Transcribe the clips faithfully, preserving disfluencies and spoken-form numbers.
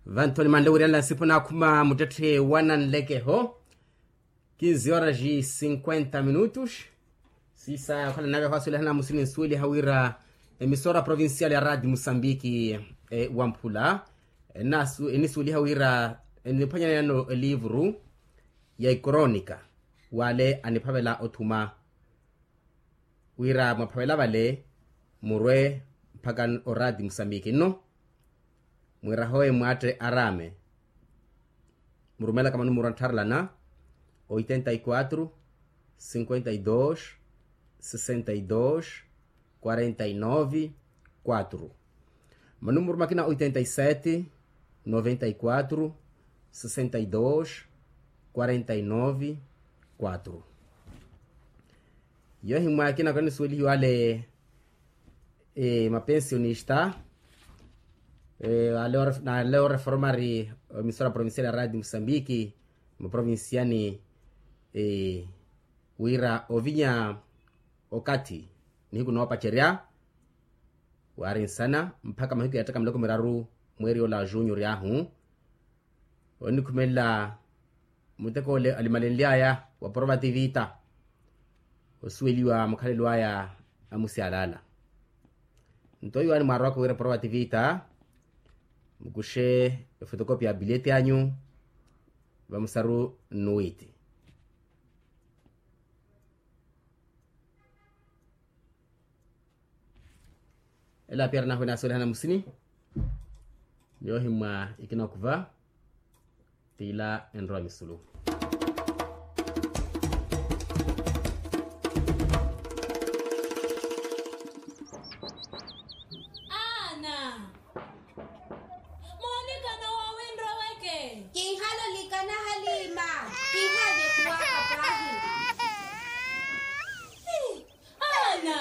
Vanthoni manle wirianla nsipo naakhuma muttetthe wananlekeho. Kinzi horas e cinquenta minutos. Sisa okhala nave hwasuwelihana musini nsuweliha wira emisora provincial ya radi musambiki wamphula enisuweliha wira eniphwanyaneyano elivuru ya ikoronika wale aniphavela othuma wira mwaphavela vale murwe mpakha orati musambiki nno. Mwirahowe mwatte arame murumelaka manumuru anttharelana oitenta y quatro cinquenta y dos sessenta y dos quarenta y nove quatro. Manumuru makina oitenta y sete noventa y quatro sessenta y dos quarenta y nove quatro. Yohimwa akina kanisuwelihiwale mapensionista nale oreformari emisora provincial ya radi musambiki muprovinciani wira ovinya okathi nihiku noopacerya wari nsana mpakha mahiku ya ttaka miloko miraru mweeri ola junior ahu onikhumelela muteko ole alimalenly'aya wa provativita osuweliwa mukhalelo aya amusyalala. Nto iwaani mwarowaka wira provativita mukushe efotokopi ya bileti anyu vamusaru nnuwiti. Ela apiyara nahu enasuwelihana musini. Yoohimwa ikina okuva tiila enrowa misulu. Ana moonikana woowi nroweke. Kinhalolikana halima. Kinhalyekuwaka paahi. Ana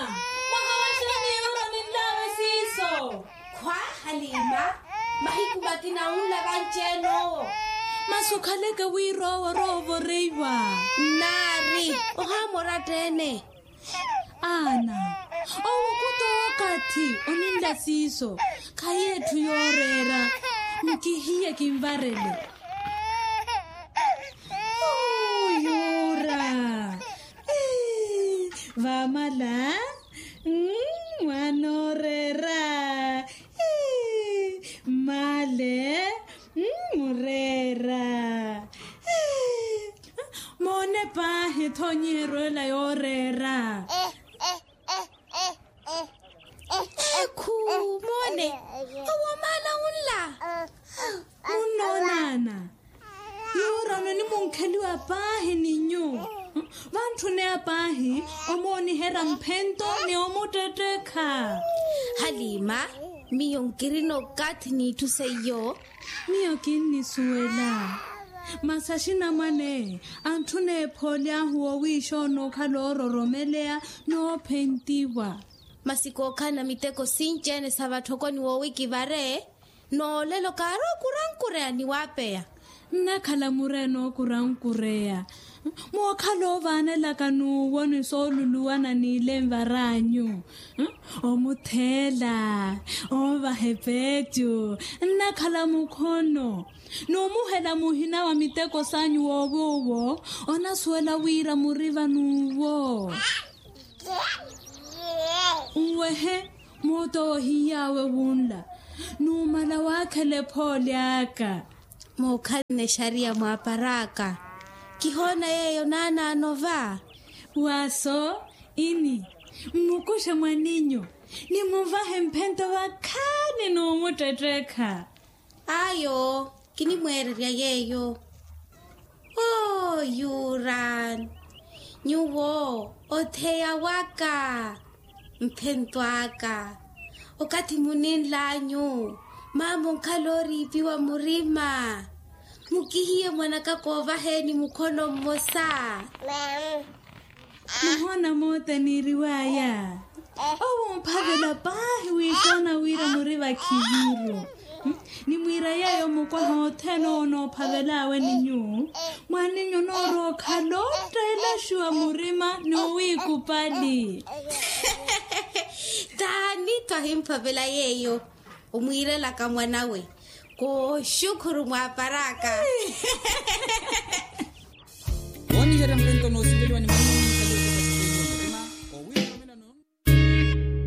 mwahawaxani yuro ninlawe siiso. Khwa halima. Mahiku makina unla vanci-ene owo. Masi okhaleke wira owo orowa ovoreiwa. Nnaari ohaamora atta-ene. Ana owo khuta okathi oninla siiso. Khayi etthu yooreera. Nkihiye kinvarele. Yuura. Vamala. Mwanooreera. Male. Mureera. Moone paahi ethonyiheryo ela yooreera. Ekhu moone. Owo maala unla. Munnoonana. Yuura ononimunkheliwa paahi ni nyuwo. Vantthune apaahi omooniherya mphento ni omuttettekha. Halima. Miyo nkirina okathi n'itthu seiyo. Miyo kinnisuwela. Masi axinamwane antthuna ephooli ahu woowiixa onookhala oororomeleya. Noophentiwa. Masi kookhalana miteko sinci-ene sa vatthokoni woowi kivare. Noolelo kaari okurankureya ni waapeya. Nnakhala mureene okurankureya. Mookhala oovaanelaka n'uwo ni sooluluwana n'ile nvar'anyu. Omutheela. Oovaha epeecu. Nnakhala mukhono. N'umuhela muhina wa miteko s'anyu woowi owo. Onasuwela wira muri van'uwo. Nwehe. Moota owo ohiy'awe wunla. Numala waakhela ephooli aka. Mookhalana exariya mwaapar'aka. Kihoona yeeyo naanaano va. Waaso ini. Mmukuxe mwaninyu. Nimuvahe mphento vakhaani n'umuttettekha. Ayo. Kinimweererya yeeyo. Oo yuran. Nyuwo otheya waka. Mphento aka. Okathi muninl'anyu. Maama onkhala ooriipiwa murima. Mukihiye mwanaka koovaheni mukhono mmosa. Muhoona moota niiriw'aya. Owo omphavela paahi wiikoona wira muri vakhiviru. Nimwiira yeeyo mukwaha othene owo noophavel'awe ni nyuwo. Mwaninyu onoorowa okhala otteelexiwa murima n'uwiikupali. Taani twahimphavela yeeyo. Omwiirelaka mwan'awe. Kuxukhuru mwaparaka. Wooniherya mpento noosiveliwa ni mannumi.